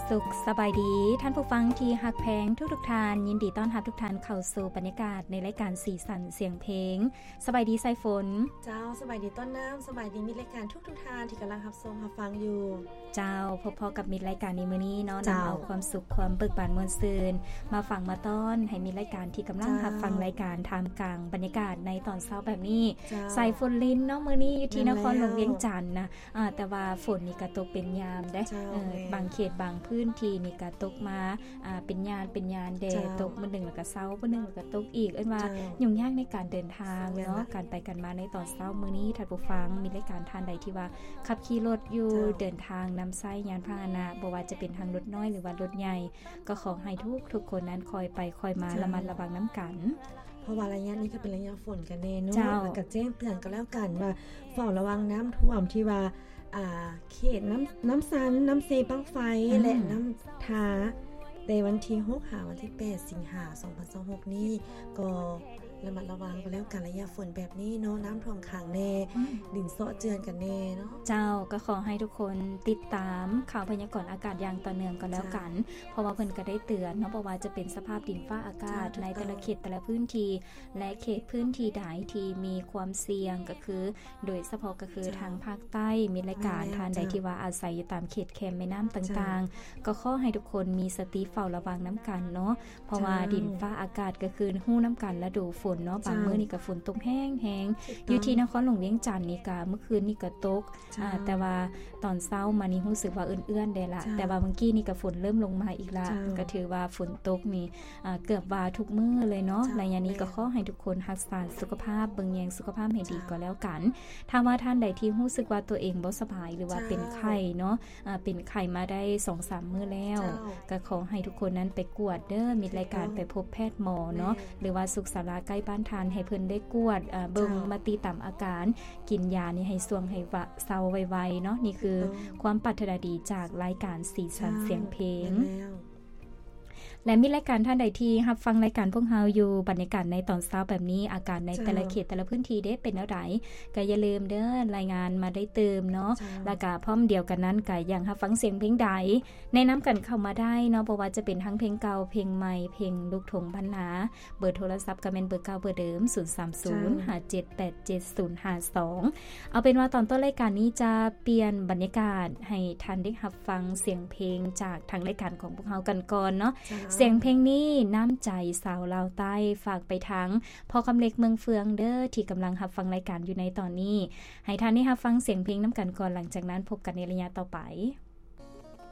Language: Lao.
ສຸກສະບາຍດີທ່ານຜູ້ຟັງທີ່ຮັກແພງທຸກໆທ່ານ, ຍິນດີຕ້ອນຮັບທຸກທ່ານເຂົ້າສູ່ບັນຍາກາດໃນລາຍການສີສັນສຽງເພງ. ສະບາຍດີສາຍຝົນ. ເຈົ້າ, ສະບາຍດີຕົ້ນນ້ຳ, ສະບາຍດີມິດລາຍການທຸກໆທ່ານທີ່ກຳລັງຮັບຊົມຮັບຟັງຢູ່. ເຈົ້າ, ພົບພໍ້ກັບມິດລາຍການໃນມື້ນີ້ເນາະ, ນຳເອົາຄວາມສຸກ, ຄວາມເບີກບານມ່ວນຊື່ນມາຝາກມາຕ້ອນໃຫ້ມິດລາຍການທີ່ກຳລັງຮັບຟັງລາຍການ ທ່າມກາງບັນຍາກາດໃນຕອນເຊົ້າແບບນີ້. ສາຍຝົນລິນເນາະ, ມື້ນີ້ຢູ່ທີ່ນະຄອນຫຼວງວຽງຈັນນະ. ອ່າ ແຕ່ວ່າຝົນນີ້ກະຕົກເປັນຍາມເດ້. ເອີ ບາງເຂດບາງພື້ນທີ່ນີ້ກະຕົກມາ ອ່າ ເປັນຍາມເປັນຍາມແດ່. ຕົກມື້ໜຶ່ງແລ້ວກະເຊົາ, ມື້ໜຶ່ງແລ້ວກະຕົກອີກ. ເອີ້ນວ່າຫຍຸ້ງຍາກໃນການເດີນທາງເນາະ, ການໄປການມາໃນຕອນເຊົ້າມື້ນີ້. ທ່ານຜູ້ຟັງ ມີລາຍການທ່ານໃດທີ່ວ່າຂັບຂີ່ລົດຢູ່, ເດີນທາງນຳໃຊ້ຍານພາຫະນະ, ບໍ່ວ່າຈະເປັນທາງລົດນ້ອຍ ຫຼືວ່າລົດໃຫຍ່, ກໍຂໍໃຫ້ທຸກໆຄົນນັ້ນຄ່ອຍໄປຄ່ອຍມາ, ລະມັດລະວັງນຳກັນ. ເພາະວ່າໄລຍະນີ້ກໍເປັນໄລຍະຝົນກັນແນ່ເນາະ. ແລ້ວກໍແຈ້ງເຕືອນກໍແລ້ວກັນວ່າ ເຝົ້າລະວັງນ້ຳຖ້ວມທີ່ວ່າ ອ່າ ເຂດນ້ຳ ນ້ຳຊັນ, ນ້ຳເຊບັ້ງໄຟ ແລະ ນ້ຳທາ ແຕ່ວັນທີຫົກຫາວັນທີແປດສິງຫາ ສອງພັນຊາວຫົກນີ້ ກໍລະມັດລະວັງກໍແລ້ວກັນ. ໄລຍະຝົນແບບນີ້ເນາະ, ນ້ຳຖ້ວມຂັງແນ່, ດິນເຊາະເຈື່ອນກັນແນ່ເນາະ. ເຈົ້າ, ກໍຂໍໃຫ້ທຸກຄົນຕິດຕາມຂ່າວພະຍາກອນອາກາດຢ່າງຕໍ່ເນື່ອງກໍແລ້ວກັນ. ເພາະວ່າເພິ່ນກໍໄດ້ເຕືອນເນາະ, ບໍ່ວ່າຈະເປັນສະພາບດິນຟ້າອາກາດໃນແຕ່ລະເຂດແຕ່ລະພື້ນທີ່ ແລະ ເຂດພື້ນທີ່ໃດທີ່ມີຄວາມສ່ຽງ ກໍຄື ໂດຍສະເພາະກໍຄືທາງພາກໃຕ້. ມີລາຍການທ່ານໃດທີ່ວ່າອາໄສຢູ່ຕາມເຂດແຄມແມ່ນ້ຳຕ່າງໆ ກໍຂໍໃຫ້ທຸກຄົນມີສະຕິເຝົ້າລະວັງນຳກັນເນາະ. ເພາະວ່າດິນຟ້າອາກາດກໍຄືຮູ້ນຳກັນລະດູຝົນເນາະ, ບາງມື້ນີ້ກໍຝົນຕົກແຮງໆ. ຢູ່ທີ່ນະຄອນຫຼວງວຽງຈັນນີ້ກໍເມື່ອຄືນນີ້ກໍຕົກ, ອ່າ ແຕ່ວ່າຕອນເຊົ້າມານີ້ຮູ້ສຶກວ່າເອື້ອນໆແດ່ລະ. ແຕ່ວ່າມື້ກີ້ນີ້ກໍຝົນເລີ່ມລົງມາອີກລະ, ກໍຖືວ່າຝົນຕົກນີ້ ອ່າ ເກືອບວ່າທຸກມື້ເລີຍເນາະ. ໄລຍະນີ້ກໍຂໍໃຫ້ທຸກຄົນຮັກສາສຸຂະພາບ, ເບິ່ງແຍງສຸຂະພາບໃຫ້ດີກໍແລ້ວກັນ. ຖ້າວ່າທ່ານໃດທີ່ຮູ້ສຶກວ່າຕົວເອງບໍ່ສະບາຍ ຫຼືວ່າເປັນໄຂ້ເນາະ, ອ່າ ເປັນໄຂ້ມາໄດ້ສອງສາມມື້ແລ້ວ, ກໍຂໍໃຫ້ທຸກຄົນນັ້ນໄປກວດເດີ, ມີລາຍການໄປພົບແພດໝໍເນາະ, ຫຼືວ່າສຸກສາລາໃກ້ບ້ານທ່ານ ໃຫ້ເພິ່ນໄດ້ກວດ ເບິ່ງມາຕິຕາມອາການ, ກິນຢານີ້ໃຫ້ຊ່ວງໃຫ້ວະ ເຊົາໄວໆເນາະ. ນີ້ຄືຄວາມປາດຖະໜາດີຈາກລາຍການສີສັນສຽງເພງ. ແລະ ມີລາຍການທ່ານໃດທີ່ຮັບຟັງລາຍການພວກເຮົາຢູ່ ບັນຍາກາດໃນຕອນເຊົ້າແບບນີ້, ອາກາດໃນແຕ່ລະເຂດແຕ່ລະພື້ນທີ່ເດ້ເປັນແນວໃດ, ກໍຢ່າລືມເດີ ລາຍງານມາໄດ້ຕື່ມເນາະ. ແລ້ວກໍພ້ອມດຽວກັນນັ້ນ ກໍຢາກຮັບຟັງສຽງເພງໃດ ແນະນຳກັນເຂົ້າມາໄດ້ເນາະ, ບໍ່ວ່າຈະເປັນທັງເພງເກົ່າ, ເພງໃໝ່, ເພງລູກທົ່ງບັນນາ. ເບີໂທລະສັບກໍແມ່ນເບີເກົ່າເບີເດີມ ສູນສາມສູນ ຫ້າເຈັດແປດເຈັດສູນຫ້າສອງ. ເອົາເປັນວ່າຕອນຕົ້ນລາຍການນີ້ຈະປ່ຽນບັນຍາກາດໃຫ້ທ່ານໄດ້ຮັບຟັງສຽງເພງຈາກທາງລາຍການຂອງພວກເຮົາກັນກ່ອນເນາະ. ສຽງເພງນີ້ ນ້ຳໃຈສາວລາວໃຕ້ ຝາກໄປທາງພໍ່ຄຳເລັກເມືອງເຟືອງເດີ ທີ່ກຳລັງຮັບຟັງລາຍການຢູ່ໃນຕອນນີ້. ໃຫ້ທ່ານໄດ້ຮັບຟັງສຽງເພງນຳກັນກ່ອນ, ຫຼັງຈາກນັ້ນພົບກັນໃນໄລຍະຕໍ່ໄປ.